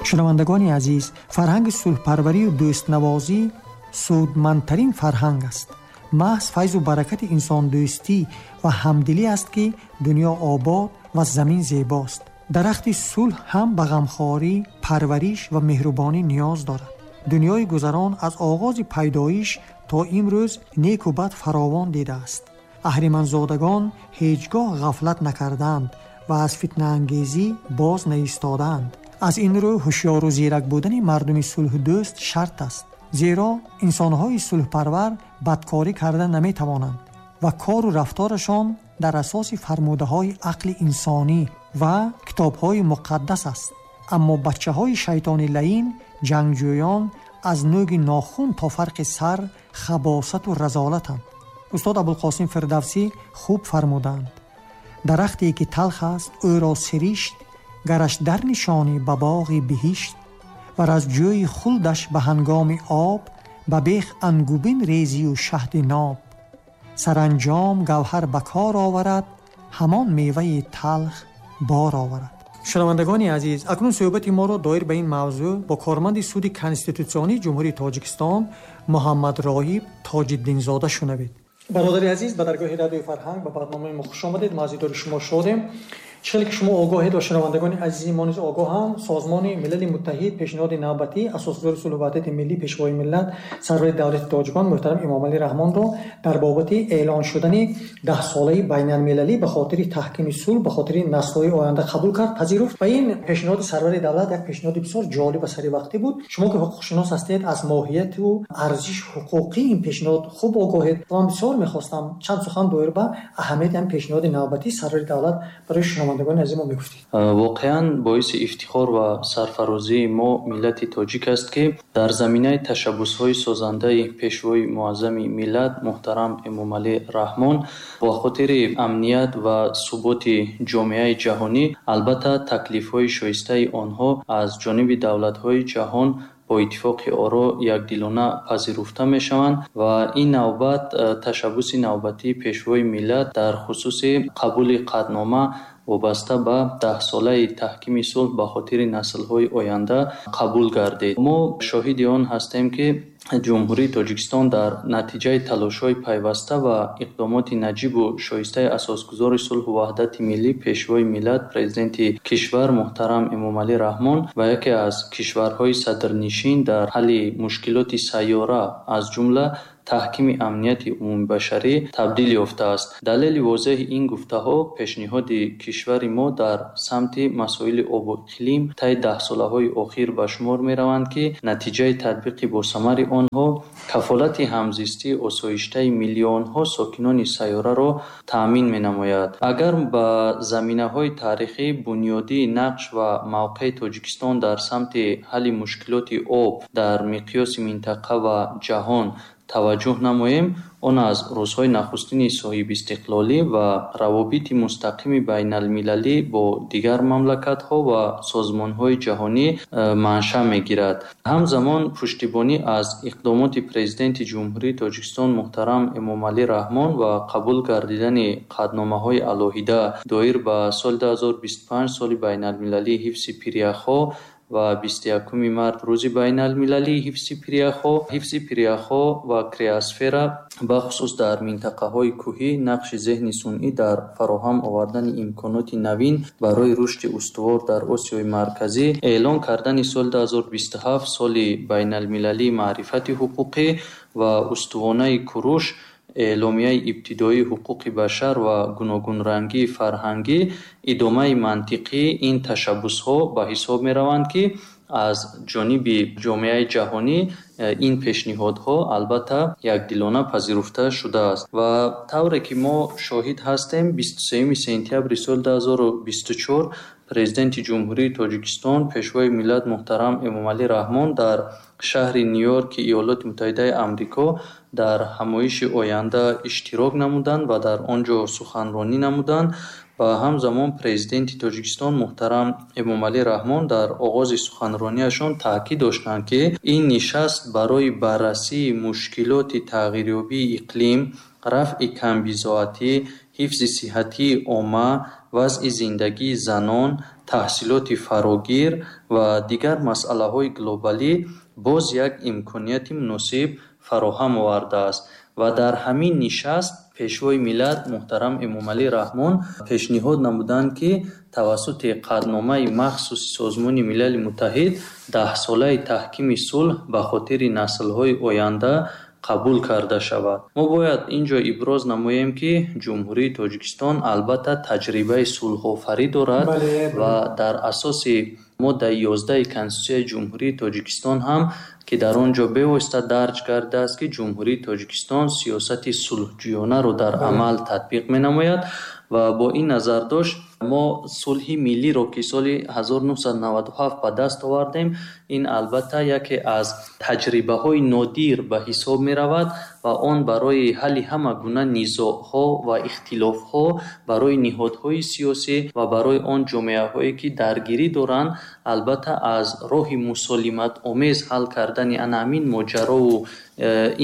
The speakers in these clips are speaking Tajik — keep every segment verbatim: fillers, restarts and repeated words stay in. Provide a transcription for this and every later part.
Шунавандагони азиз, фарҳанги сулҳпарварию дӯстнавозӣ судмандтарин фарҳанг аст. Маҳз файзу баракати инсондӯстӣ ва ҳамдилӣ аст, ки дунё обод ва замин зебост. Дарахти сулҳ ҳам ба ғамхорӣ, парвариш ва меҳрубонӣ ниёз дорад. Дунёи гузарон аз оғози пайдоиш то имрӯз неку бад фаровон дидааст. Аҳриманзодагон ҳеҷ гоҳ ғафлат накарданд ва аз фитнаангезӣ боз наистодаанд. Аз ин рӯ ҳушёру зирак будани мардуми сулҳдӯст шарт аст, зеро инсонҳои сулҳпарвар бадкорӣ карда наметавонанд ва кору рафторашон дар асоси фармудаҳои ақли инсонӣ ва китобҳои муқаддас аст. Аммо бачаҳои шайтони лаин, ҷангҷӯён аз нӯги нохун то фарқи сар хабосату разолатанд. Устод Абулқосим Фирдавсӣ хуб фармуданд: дарахте ки талх аст, ӯро сиришт, гараш дар нишонӣ ба боғи биҳишт, вар аз ҷӯи хулдаш ба ҳангоми об, ба бех ангубин резию шаҳди ноб. Саранҷом гавҳар ба кор оварад, ҳамон меваи талх бор оварад. Шунавандагони азиз, акнун суҳбати моро доир ба ин мавзӯъ бо корманди суди конститутсионии Ҷумҳурии Тоҷикистон Муҳаммад Роҳиб Тоҷиддинзода шунавед. Бародари азиз, ба даргоҳи радиои фарҳанг ба барномаи мо хуш омадед. Мо аз дидори шумо шодем. Чӣ хеле ки шумо огоҳед ва шунавандагони азизи мо низ огоҳанд, Созмони Милали Муттаҳид пешниҳоди навбатӣ асосгузори сулҳу ваҳдати миллӣ, пешвои миллат, сарвари давлати тоҷикон муҳтарам Эмомалӣ Раҳмонро дар бобати эълон шудани даҳсолаи байналмилалӣ ба хотири таҳкими сулҳ, ба хотири наслҳои оянда қабул кард, пазируфт. Ва ин пешниҳоди сарвари давлат як пешниҳоди бисёр ҷолиб ва саривақтӣ буд. Шумо ки ҳуқуқшинос ҳастед, аз моҳияту арзиши ҳуқуқии ин пешниҳод хуб огоҳед ва ман бисёр мехостам чанд сухан доир ба аҳамияти ҳам пешниҳоди навбатии сарвари давлат барои шунавандагони азиз мо мегуфтед. Воқеан боиси ифтихор ва сарфарозии мо миллати тоҷик аст, ки дар заминаи ташаббусҳои созандаи пешвои муаззами миллат муҳтарам Эмомалӣ Раҳмон бо хотири амният ва суботи ҷомеаи ҷаҳонӣ, албатта, таклифҳои шоистаи онҳо аз ҷониби давлатҳои ҷаҳон бо иттифоқи оро якдилона пазируфта мешаванд ва ин навбат ташаббуси навбатии пешвои миллат дар хусуси қабули қатънома вобаста ба даҳсолаи таҳкими сулҳ ба хотири наслҳои оянда қабул гардид. Мо шоҳиди он ҳастем, ки Ҷумҳурии Тоҷикистон дар натиҷаи талошҳои пайваста ва иқдомоти наҷибу шоистаи асосгузори сулҳу ваҳдати миллӣ, пешвои миллат, президенти кишвар муҳтарам Эмомалӣ Раҳмон ва яке аз кишварҳои садрнишин дар ҳалли мушкилоти сайёра, аз ҷумла таҳкими амнияти умумибашарӣ табдил ёфтааст. Далели возеҳи ин гуфтаҳо пешниҳоди кишвари мо дар самти масоили обу иқлим таи даҳсолаҳои охир ба шумор мераванд, ки натиҷаи татбиқи босамари онҳо кафолати ҳамзистии осоиштаи миллионҳо сокинони сайёраро таъмин менамояд. Агар ба заминаҳои таърихӣ, бунёдии нақш ва мавқеи Тоҷикистон дар самти ҳалли мушкилоти об дар миқёси минтақа ва ҷаҳон таваҷҷӯҳ намоем, он аз рӯзҳои нахустини соҳибистиқлолӣ ва равобити мустақими байналмилалӣ бо дигар мамлакатҳо ва созмонҳои ҷаҳонӣ э, маншаъ мегирад. Ҳамзамон пуштибонӣ аз иқдомоти Президенти Ҷумҳурии Тоҷикистон муҳтарам Эмомалӣ Раҳмон ва қабул гардидани қатъномаҳои алоҳида доир ба соли дуҳазору бисту панҷ, соли байналмилалии ҳифзи пиряхҳо, ва бисту якуми март, рӯзи байналмилалии ҳифзи пиряхҳо. Ҳифзи пиряхҳо ва криосфера, бахусус дар минтақаҳои кӯҳӣ, нақши зеҳни сунъӣ дар фароҳам овардани имконоти навин барои рушди устувор дар Осиёи Марказӣ, эълон кардани соли дуҳазору бисту ҳафт соли байналмилалии маърифати ҳуқуқӣ ва устувонаи Куруш, эъломияи ибтидоии ҳуқуқи башар ва гуногунрангии фарҳангӣ идомаи мантиқии ин ташаббусҳо ба ҳисоб мераванд, ки аз ҷониби ҷомеаи ҷаҳонӣ ин пешниҳодҳо албатта якдилона пазируфта шудааст. Ва тавре ки мо шоҳид ҳастем, бисту сеюми сентябри соли дуҳазору бисту чор Президенти Ҷумҳурии Тоҷикистон, пешвои миллат муҳтарам Эмомалӣ Раҳмон дар шаҳри Ню-Йорки Иёлоти Муттаҳидаи Амрико дар ҳамоиши оянда иштирок намуданд ва дар он ҷо суханронӣ намуданд. Ва ҳамзамон Президенти Тоҷикистон муҳтарам Эмомалӣ Раҳмон дар оғози суханрониашон таъкид доштанд, ки ин нишаст барои баррасии мушкилоти тағйирёбии иқлим, рафъи камбизоатӣ, ҳифзи сиҳатии омма, вазъи зиндагии занон, таҳсилоти фарогир ва дигар масъалаҳои глобалӣ боз як имконияти муносиб фароҳам овардааст. Ва дар ҳамин нишаст Пешвои миллат муҳтарам Эмомалӣ Раҳмон пешниҳод намуданд, ки тавассути қатъномаи махсуси Созмони Милали Муттаҳид даҳсолаи таҳкими сулҳ ба хотири наслҳои оянда қабул карда шавад. Мо бояд ин ҷо иброз намоем, ки Ҷумҳурии Тоҷикистон албатта таҷрибаи сулҳофарӣ дорад ва дар асоси моддаи ёздаҳи Конститутсияи Ҷумҳурии Тоҷикистон ҳам, ки дар он ҷо бевосита дарҷ гардидааст, ки Ҷумҳурии Тоҷикистон сиёсати сулҳҷӯёнаро дар амал татбиқ менамояд ва бо ин назардошт мо сулҳи миллиро, ки соли ҳазору нӯҳсаду наваду ҳафт ба даст овардем, ин албатта яке аз таҷрибаҳои нодир ба ҳисоб меравад ва он барои ҳалли ҳама гуна низоъҳо ва ихтилофҳо барои ниҳодҳои сиёсӣ ва барои он ҷомеаҳое, ки даргирӣ доранд, албатта аз роҳи мусолиматомез ҳал кардани ана ҳамин моҷарову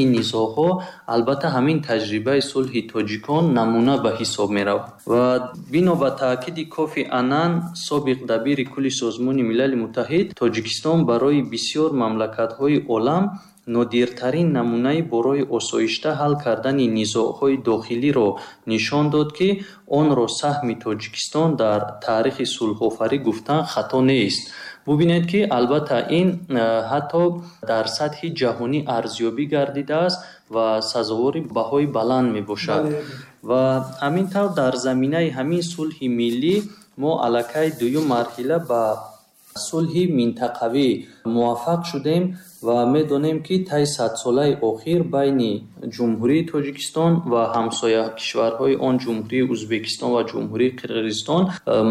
ин низоъҳо, албатта ҳамин таҷрибаи сулҳи тоҷикон намуна ба ҳисоб меравад. Ва бино ба таъкиди Кофи Аннан, собиқ дабири кулли Созмони Милали Муттаҳид, Тоҷикистон барои бисёр мамлакатҳои олам нодиртарин намунаи барои осоишта ҳал кардани низоъҳои дохилиро нишон дод, ки онро саҳми Тоҷикистон дар таърихи сулҳофарӣ гуфтан хато нест. Бубинед, ки албатта ин ҳатто дар сатҳи ҷаҳонӣ арзёбӣ гардидааст ва сазовори баҳои баланд мебошад. Ва ҳамин тавр дар заминаи ҳамин сулҳи миллӣ мо аллакай дуюм марҳила ба сулҳи минтақавӣ муваффақ шудем ва медонем, ки тай садсолаи охир байни Ҷумҳурии Тоҷикистон ва ҳамсоя кишварҳои он Ҷумҳурии Ӯзбекистон ва Ҷумҳурии Қирғизистон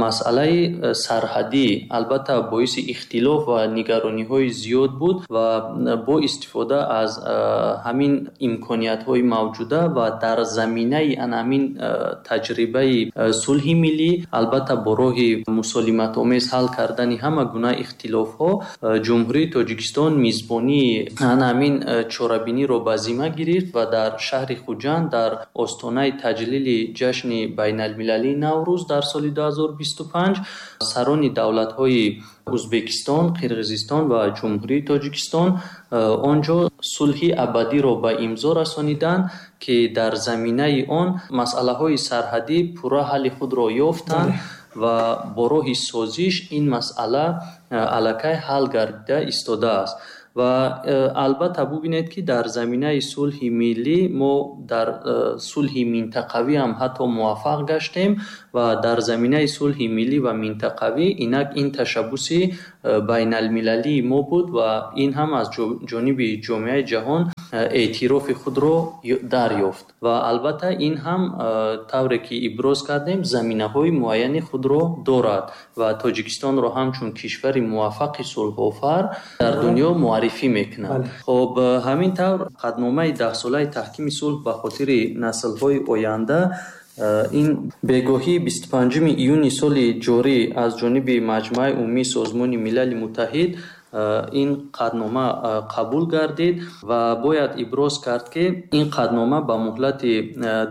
масъалаи сарҳадӣ албатта боиси ихтилоф ва нигарониҳои зиёд буд ва бо истифода аз ҳамин имкониятҳои мавҷуда ва дар заминаи ана ҳамин таҷрибаи сулҳи миллӣ албатта бо роҳи мусолиматомез ҳал кардани ҳама гуна ихтилофҳо Ҷумҳурии Тоҷикистон мизбонии ана ҳамин чорабиниро ба зимма гирифт ва дар шаҳри Хуҷанд дар остонаи таҷлили ҷашни байналмилалии Наврӯз дар соли ду ҳазору бисту панҷ сарони давлатҳои Ӯзбекистон, Қирғизистон ва Ҷумҳурии Тоҷикистон он ҷо сулҳи абадиро ба имзо расониданд, ки дар заминаи он масъалаҳои сарҳадӣ пурра ҳалли худро ёфтанд ва бо роҳи созиш ин масъала аллакай ҳал гардида истодааст. Ва албатта бубинед, ки дар заминаи сулҳи миллӣ мо дар сулҳи минтақавӣ ҳам ҳатто муваффақ гаштем ва дар заминаи сулҳи миллӣ ва минтақавӣ инак ин ташаббуси байналмилалии мо буд ва ин ҳам аз ҷониби ҷомеаи ҷаҳон эътирофи худро дарёфт. Ва албатта ин ҳам тавре ки иброз кардем заминаҳои муайяни худро дорад ва Тоҷикистонро ҳамчун кишвари муваффақи сулҳофар дар дунё муаррифӣ мекунад. Хоб, ҳамин тавр қатъномаи даҳсолаи таҳкими сулҳ ба хотири наслҳои оянда ин бегоҳии бисту панҷуми июни соли ҷорӣ аз ҷониби Маҷмааи Умумии Созмони Милали Муттаҳид ин қатънома қабул гардид ва бояд иброз кард, ки ин қатънома ба муҳлати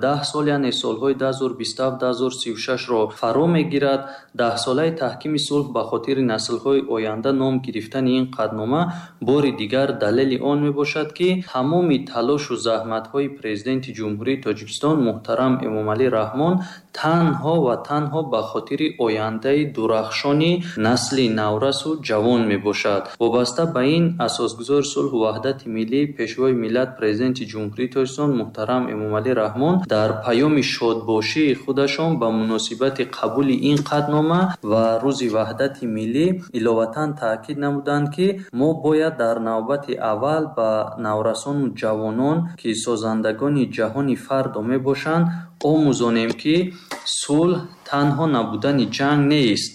даҳ сол, яъне солҳои ду ҳазору бисту ҳафт ду ҳазору сию шашро фаро мегирад. Даҳсолаи таҳкими сулҳ ба хотири наслҳои оянда ном гирифтани ин қатънома бори дигар далели он мебошад, ки тамоми талошу заҳматҳои Президенти Ҷумҳурии Тоҷикистон муҳтарам Эмомалӣ Раҳмон танҳо ва танҳо ба хотири ояндаи дурахшони насли наврасу ҷавон мебошад. Вобаста ба ин асосгузори сулҳу ваҳдати миллӣ, Пешвои миллат, Президенти Ҷумҳурии Тоҷикистон муҳтарам Эмомалӣ Раҳмон дар паёми шодбошии худашон ба муносибати қабули ин қатънома ва Рӯзи ваҳдати миллӣ иловатан таъкид намуданд, ки мо бояд дар навбати аввал ба наврасону ҷавонон, ки созандагони ҷаҳони фардо мебошанд, омӯзонем, ки сулҳ танҳо набудани ҷанг нест.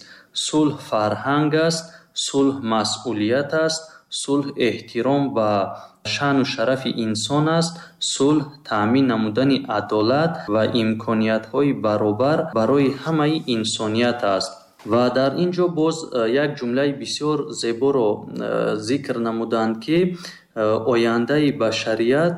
Сулҳ фарҳанг аст, сулҳ масъулият аст, сулҳ эҳтиром ба шаъну шарафи инсон аст, сулҳ таъмин намудани адолат ва имкониятҳои баробар барои ҳамаи инсоният аст. Ва дар ин ҷо боз як ҷумлаи бисёр зеборо зикр намуданд, ки ояндаи башарият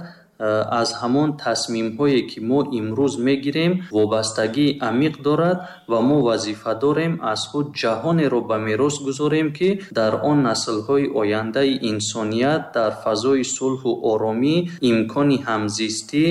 аз ҳамон тасмимҳое ки мо имрӯз мегирем вобастагии амиқ дорад ва мо вазифа дорем аз худ ҷаҳонеро ба мерос гузорем, ки дар он наслҳои ояндаи инсоният дар фазои сулҳу оромӣ имкони ҳамзистӣ,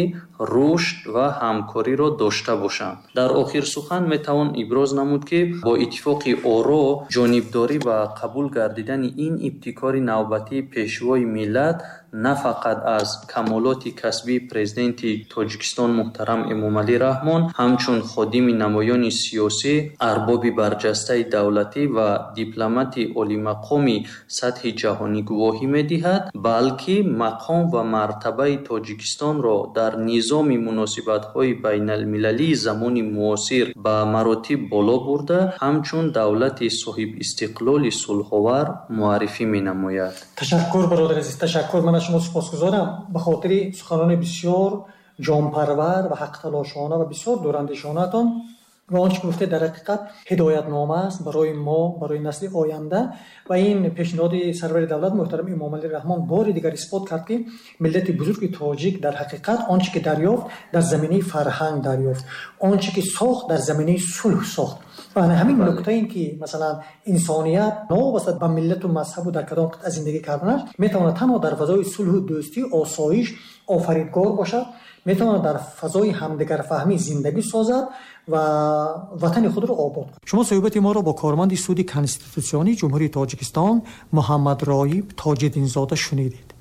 рушд ва ҳамкориро дошта бошанд. Дар охир сухан метавон иброз намуд, ки бо иттифоқи оро ҷонибдорӣ ва қабул гардидани ин ибтикори навбатии Пешвои миллат на фақат аз камолоти касбии Президенти Тоҷикистон муҳтарам Эмомалӣ Раҳмон ҳамчун ходими намоёни сиёсӣ, арбоби барҷастаи давлатӣ ва дипломати олимақоми сатҳи ҷаҳонӣ гувоҳӣ медиҳад, балки мақом ва мартабаи Тоҷикистонро дар низоми муносибатҳои байналмилалии замони муосир ба маротиб боло бурда, ҳамчун давлати соҳибистиқлоли сулҳовар муаррифӣ менамояд. Ташаккур, бародари азиз, ташаккур. Ман аз шумо сипосгузорам ба хотири суханони бисёр ҷонпарвар ва ҳақталошона ва бисёр дурандешонаатон ва он чӣ гуфтед дар ҳақиқат ҳидоятнома аст барои мо, барои насли оянда. Ва ин пешниҳоди сарвари давлат муҳтарам Эмомалӣ Раҳмон бори дигар исбот кард, ки миллати бузурги тоҷик дар ҳақиқат он чӣ ки дарёфт дар заминаи фарҳанг дарёфт, он чӣ ки сохт дар заминаи сулҳ сохт. Ва ҳамин нукта ин ки масалан инсоният новобаста ба миллату мазҳабу дар кадом қитъа зиндагӣ карданаш метавонад танҳо дар фазои сулҳу дӯстӣ, осоиш офаридгор бошад, метавонад дар фазои ҳамдигарфаҳмӣ зиндагӣ созад ва ватани худро обод кунад. Шумо суҳбати моро бо корманди суди конститутсионии Ҷумҳурии Тоҷикистон Муҳаммадроиб Тоҷиддинзода шунидед.